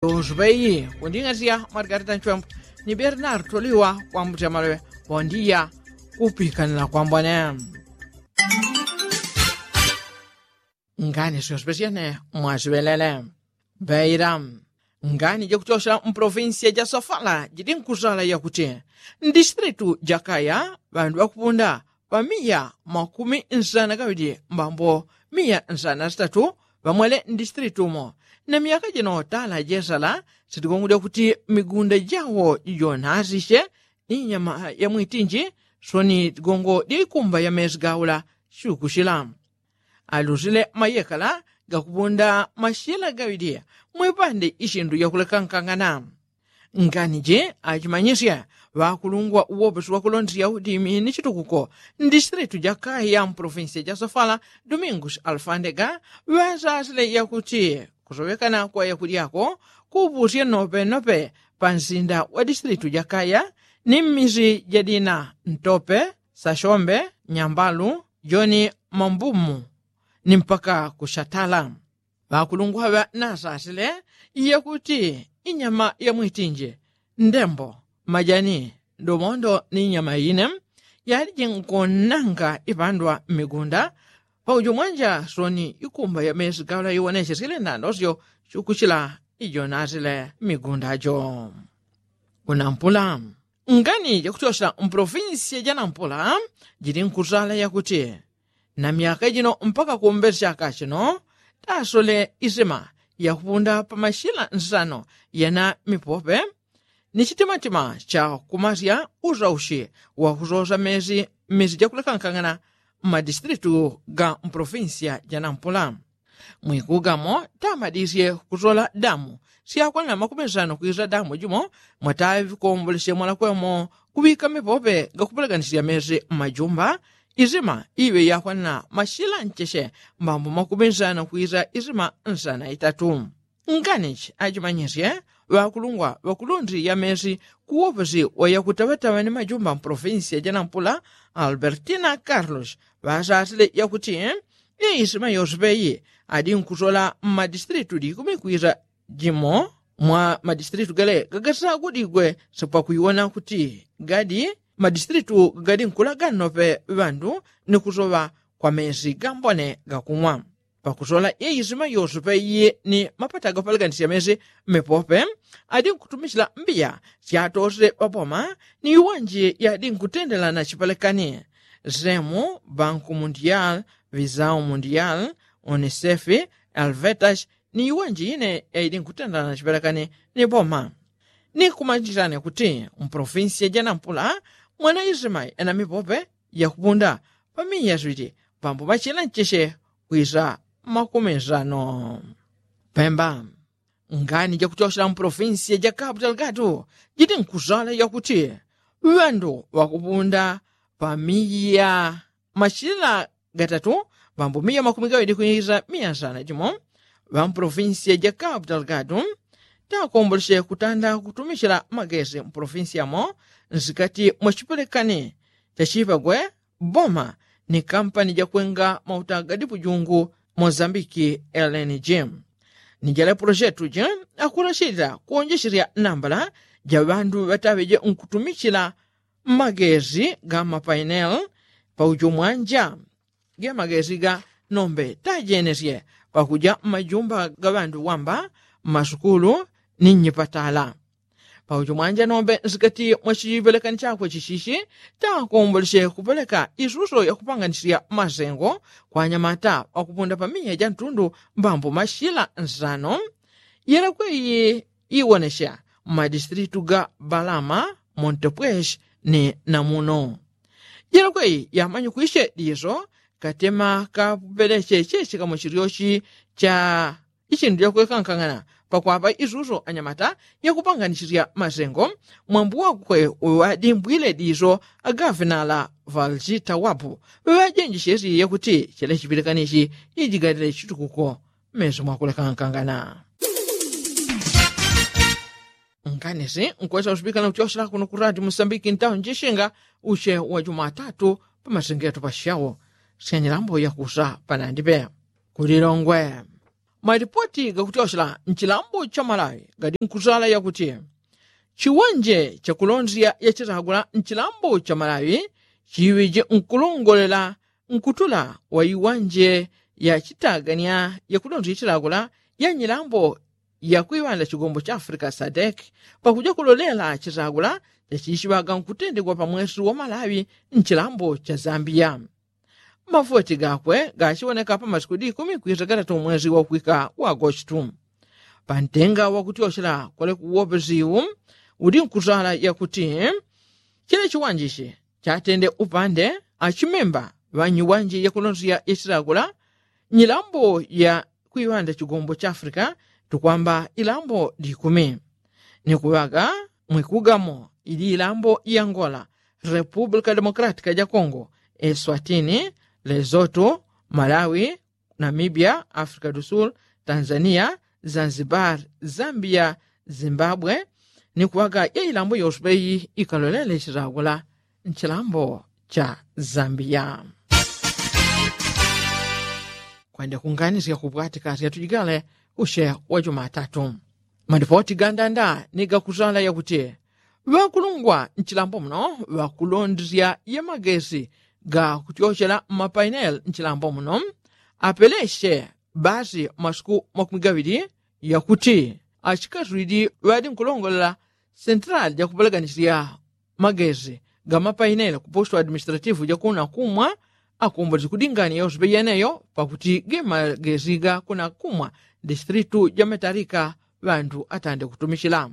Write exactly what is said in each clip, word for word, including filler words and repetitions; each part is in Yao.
Tonsu peyi kunding'azya mwarikati tanchwembo ni bernardo liwa kwambuti amaloŵe. Pondiya kupikanila kwambone. Ngani syonse pesyene mwasiŵelele. Mbeila ngani jakuchosela mpolofinsiya ja sofala jidi nkusala yakuti ndisitilitu jakaya ŵandu ŵakupunda pa miya makumi nsana gaŵili mbambo miya nsana sitatu ŵamwele ndisitilitu umo. Na myaka jino tala jesala sitigongo dyakuti migunda jawo jonasisye ni nyama ya mwitinji soni tigongo dya ikumba ya mesi gaula. Syukusyila alusile mayekala gakupunda masyila gaŵili mwipande isyindu yakulekankangana. Ngani ji achimanyisye ŵakulungwa uwoposi wakulondesya udimi ni chitukuko ndisitilitu jakaya mpolofinsiya ja sofala domingus alfandega ŵasasile yakuti kusoŵekana kwa yakulyako kuupusye nopenope pa nsinda wa disitilitu jakaya ni mmisi jadina ntope sashombe nyambalu joni mambumu ni mpaka kushatala. Ŵakulungwa ŵa nasasile yakuti inyama ya mwitinji ndembo majani domondo ni inyama ine yaliji nkonanga ipandwa mmigunda. Paujo mwanja soni ikumba ya mesi gaula iwonesyesile nandosyo syukusyila ijonasile mmigunda jo. Kunampula ngani jakutyosyela mpolofinsiya ja nampula jili nkusala yakuti na myaka jino mpaka kumbesi chaka chino tasole isima yakupunda pa masyila nsano yana mipope ni chitimatima cha kumasya usaushi wakusosa mesi mmisi jakulekankangana mmadisitilitu ga mpolofinsiya ja nampula. Mwikugamo tamadisye kusola damu syakwanila makumi nsano kwisa damu jimo mwataŵi kombolesye mwalakwemo kuŵika mipope gakupeleganisya mesi mmajumba isima iŵe yakwanila masyila ncheshe mbambo makumi nsano kwisa isima nsana itatu. Nganichi achimanyisye ŵakulungwa ŵakulundili ya mesi kuwoposi wa yakutaŵataŵa ni majumba mpolofinsiya ja nampula albertina carlos ŵasasile yakuti iyi isima yose peyi adi nkusola mmadisitilitu likumi kwisa jimo mwa madisitilitu gale gagasagudigwe sipwakuiwona kuti gadi madisitilitu gadi nkulaga nnope ŵandu ni kusoŵa kwa mesi gambone gakumwa. Pakusola iyi isima yose peyi ni mapata gapeleganisya mesi mmepope adi nkutumisila mbiya syatosile ŵaboma ni iwanji yadi nkutendela na chipelekani semu banku mundial visau mundial unisefi alvetash ni iwanji ine yaili nkutendela na chipelekani ni boma. Ni kumanjilane kuti mpolofinsiya ja nampula mwana isima ena mipope yakupunda pamiya switi pambo machila ncheshe kwisa makumi nsano. Pemba ngani jakutyosyela mpolofinsiya ja kapu talgatu jiti nkusala yakuti ŵandu ŵakupunda pamiya machila gatatu ŵambo miya makumi gaŵili kwisa miya nsana jimo ŵampolofinsiya ja kapu talgatu takombolesye kutanda kutumisila magesi mpolofinsiyamo nsikati mwa chipelekani chachipagwe boma ni kampani jakwenga mauta gadi pujungu mozambiki lng. Ni jale polojetu je akulasila kuonjeselya nambala ja ŵandu ŵataŵeje nkutumichila magesi ga mapainel paujo mwanja ge magesi ga nombe tajenesye pakuja mmajumba ga ŵandu wamba mmasukulu ni nnyipatala. Paujo mwanja nombe nsikati mwa chipelekani chakwe chichichi takombolesye kupeleka isuso yakupanganisya masengo kwa anyamata ŵakupunda pamiya ja ntundu mbambo mashila nsano. Yelekwe iyi iwonesya mmadisitilitu ga balama montepwesh ni namuno. Yelekwe iyi yamanyikwisye diso katema kapeleche chechikamo chilyochi cha ichindu chakwekankang'ana pakwapa isuso anyamata yakupanganisisya masengo. Mwambu wakwe uŵadimbwile diso agafinala valchita wapu ŵajenjeshesye yakuti chila chipilikanichi ijigalile chitukuko mmeso mwakulekankangana. Nkanisi nkwesa usipikana kuchosela kuno kurati musambiki ntawo njishinga uche wa jumatatu pamasengeto pashawo syanyilambo yakusa panandipe kulilongwe. Malipoti gakutyoshela nchilambo cha malawi gadi nkuzala yakuti chiwanje chakulondela yachitagula nchilambo cha malawi chiŵije nkulongolela nkutula wa iwanje yachitagania yakulondela yachitagula ya nyilambo ya kwiŵanda chigombo cha africa sadek pakuja kulolela chitagula chachichiŵaga nkutendegwa pa mwesi wa malawi nchilambo cha zambia. Mavoti gakwe gachiwoneka pa masiku di ikumi kwisa gatatu mwezi wakwika wa agostu. Pantenga wakutyochela kwalekuwopeziwu udi nkuzala yakuti chila chiwanjichi chatende upande achimemba ŵanyiwanji yakulonzya yachitagula nyilambo ya kwiŵanda chigombo cha africa tukwamba ilambo di ikumi. Ni kuŵaga mwikugamo ili ilambo ya angola, república democrática ja congo, eswatini, lesoto, malawi, namibia, africa do sul, tanzania, zanzibar, zambia, zimbabwe. Ni kuŵaga ya ilambo yoswe iyi ikalolele chitagula nchilambo cha zambia. Kwende kunganisya kupwatika syatujigale ushe wa jumatatu. Malipoti gandanda ni gakuzala yakuti ŵakulungwa nchilambo muno ŵakulondisya ya magesi gakutyochela mmapaineli nchilambo muno apeleshe basi masiku makumi gaŵili yakuti achikaswili ŵadi nkulongolela sentelali jakupeleganisya magesi ga mapaineli ku posto administrativu jakuna kumwa akombozi kudingania yonse peyeneyo pakuti ge magesi ga kuna kumwa distritu ja matalika ŵandu atande kutumichila.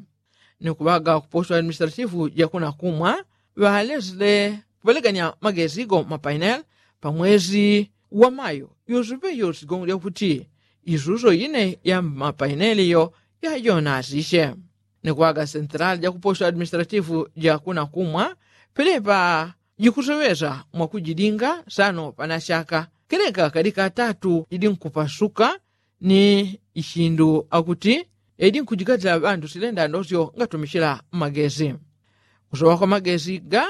Ni kuŵaga ku posto administrativu jakuna kumwa ŵalesile kupelegania magesi go mapaineli pa mwezi wa mayo yonse peyo sigongo lyakuti isuso ine ya mapaineli yo yajonasishe. Ni kuŵaga sentelali ja ku posto administrativu ja kuna kumwa pelepa jikuseŵesa mwakujilinga sano panashaka keleka kadi katatu jidi nkupasuka ni ichindu akuti edi nkujigatila ŵandu silenda ndosyo ngatumichila magesi. Kusoŵa kwa magesi ga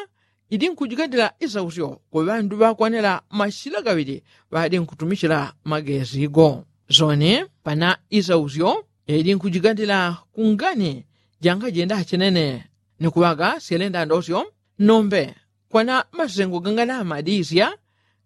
idi nkujigatila isausyo ku ŵandu ŵakwanila mashila gaŵili ŵadi nkutumichila magesi go. Soni pana isausyo edi nkujigatila kungani jangajenda chenene ni kuŵaga syelenda ndosyo nombe kwana masengo ganganamadisya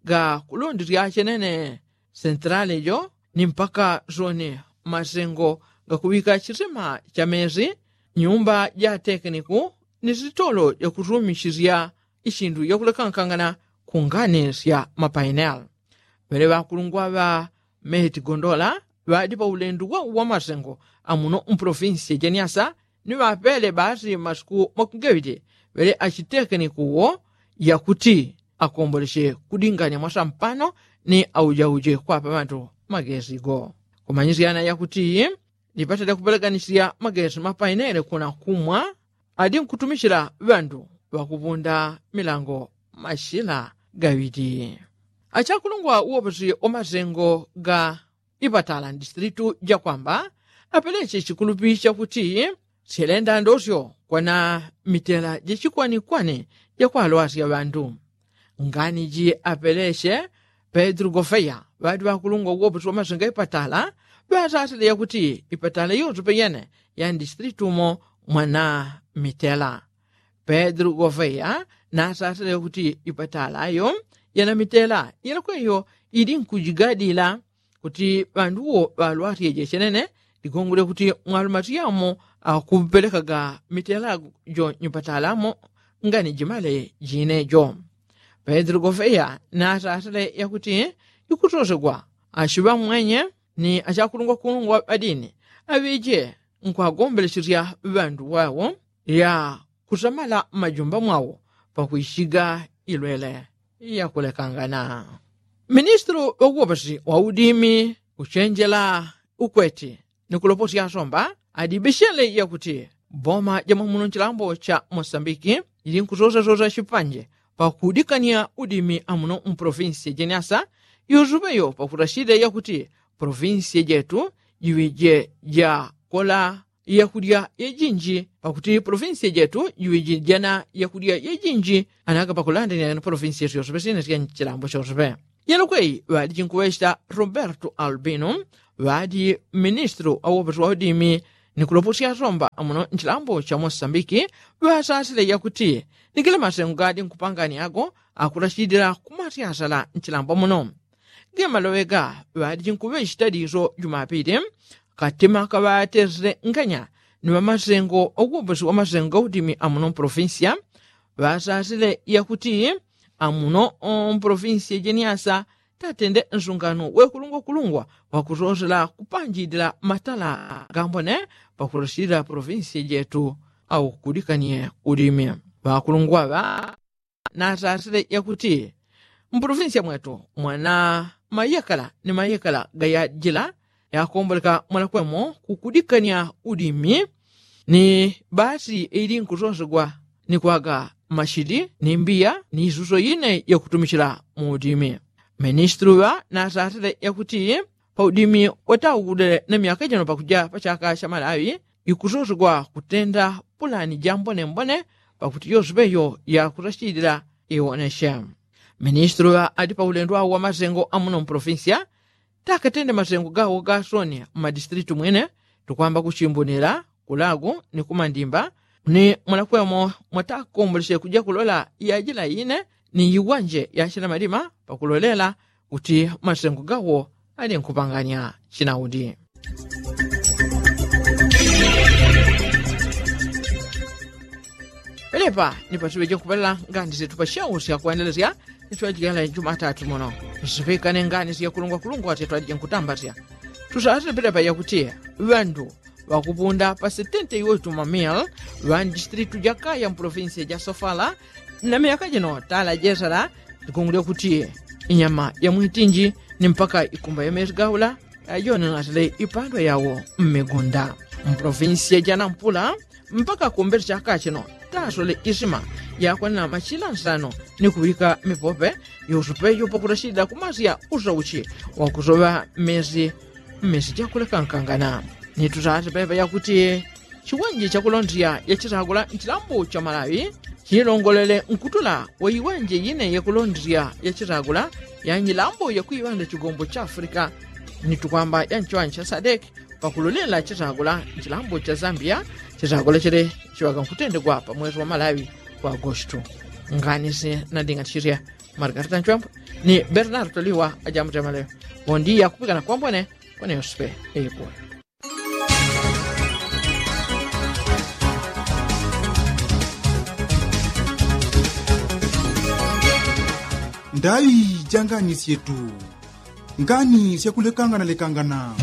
ga kulondisya chenene sentelali jo ni mpaka soni masengo gakuŵika chisima cha mesi nyumba ja tekeniku ni sitolo jakutumisisya ichindu jakulekankangana kungani sya mapaineli. Ŵele ŵakulungwa ŵa meheti gondola ŵadi pa ulendu wa uwamasengo amuno mpolofinsi jeniasa ni ŵapele basi masiku makumi gaŵili ŵele achitekeniku wo yakuti akomboleshe kudingania mwasampano ni aujauje kwapa ŵandu magesi go. Kumanyisyana yakuti lipata lyakupeleganisya magesi mapainele kuna kumwa adi nkutumichila ŵandu ŵakupunda milango mashila gaŵili. Achakulungwa uwoposi wa masengo ga ipatala mdistritu jakwamba apeleche chikulupi chakuti syelenda ndosyo kwana mitela jachikwanikwani jakwalwasya ŵandu. Ngani ji apeleche pedro gofeya ŵadi ŵakulungwa uwoposi wa masengo ipatala ŵasasile yakuti ipatala yonse peyene ya mdistritu mo mwana mitela. Pedro gofeya nasasile yakuti ipatala yo yana mitela yelekweyo idi nkujigadila kuti ŵanduwo ŵalwasyeje chenene ligongole kuti mwalumati yamo akupelekaga mitela jo nyupatalamo ngani jimale jine jo. Pedro gofeya nasasile yakuti ikusosegwa achiŵa mwenye ni achakulungwakulungwa ŵadini aŵije nkwagombelesesya ŵandu ŵawo ya kusamala mmajumba mwawo pakwichiga ilwele yakulekangana. Ministulu ŵakuwopasi wa udimi kuchenjela ukweti ni kuloposya asomba adibishele yakuti boma jamwamuno nchilambo cha mosambiki ili nkusosasosa chipanje pakudikania udimi amuno mpolofinsi jeniasa yusupeyo pakutachile yakuti polofinsi jetu jiŵije jakola yakudya yejinji pakuti polofinsi jetu jiŵije jana yakudya yejinji. Anaga pakulandania ni polofinsi yetu yosepe sine sya nchilambo chosepe yelokweyi ŵadi chinkuŵecheta roberto albino ŵadi ministulu wa uwoposi wa udimi ni kuloposya asomba amuno nchilambo cha mosambiki ŵasasile yakuti ni gila masengo gadi nkupangani ago akulasidila kumasyasala nchilambo muno. Ge maloŵe ga ŵadi nkuŵechita diso jumapili katima kaŵatesile nganya ni ŵamasengo uwoposi wa masengo ga udimi amuno mpolofinsiya ŵasasile yakuti amuno mpolofinsiya jeniasa tatende nsungano wekulungwakulungwa wakusosela kupanjidila matala gambone pakulosilila polofinsiya jetu au kudikanie udimi. Ŵakulungwa ŵa nasasile yakuti mpolofinsiya mwetu mwana mayekala ni mayekala gayajila yakomboleka mwanakwemo kukudikania udimi ni basi ili nkusonsegwa ni kwaga mashili ni mbiya ni isuso ine yakutumichila mu udimi. Ministulu ŵa nasasile yakuti pa udimi wataugudile na myaka jino pakuja pa chaka cha malawi ikusosegwa kutenda pulani ja mbonembone pakuti yosepeyo yakusachilila iwoneshe. Ministulu ŵa adi pa ulendo awo wa masengo amuno mpolofinsiya takatende masengo gawo gasoni mmadisitilitu mwine tukwamba kuchimbunila kulagu ni kumandimba ni mwanakwemo mwatakombolesye kuja kulola yajila ine ni yiwanje yachila malima pakulolela kuti masengo gawo ali nkupangania chinaudi. Pelepa ni patuŵeje nkupalela ngani setu pa shau syakwandelesya ni twajigala jumatatu muno nsipikane ngani syakulungwakulungwa sya twajije nkutambasya. Tusasile pelepa yakuti ŵandu ŵakupunda pa setente iwo ituma mil ŵa ndisitilitu jakaya mpolofinsiya ja sofala na myaka jino tala jesala likungulya kuti inyama ya mwitinji ni mpaka ikumba ya mesi gaula yajone nasile ipandwa yawo mmigunda mpolofinsiya ja nampula mpaka kumbele chaka chino tasole isima yakwanila machila nsano ni kuŵika mipope yosupeyo pakulachilila kumasya usauchi wakusoŵa mmesi mmesi jakulekankangana. Ni tusase pepe yakuti chiwanje chakulondesya yachisagula nchilambo cha malawi chilongolele nkutula wa iwanje ine yakulondesya yachisagula ya nyilambo ya kuiŵanda chigombo cha afrika ni tukwamba ya nchiwanje cha sadek pakulolela chisagula nchilambo cha zambia. Chisagula chili chiŵaka nkutendegwa pa mwezi wa malawi kwa agostu. Ngani si nanding'atisisya margarita nchwembo ni bernardo liwa ajamutemale. Bondia kupikana kwambwene kweneyospe eipwe. Ndai ja ngani syetu. Ngani syakulekangana lekangana.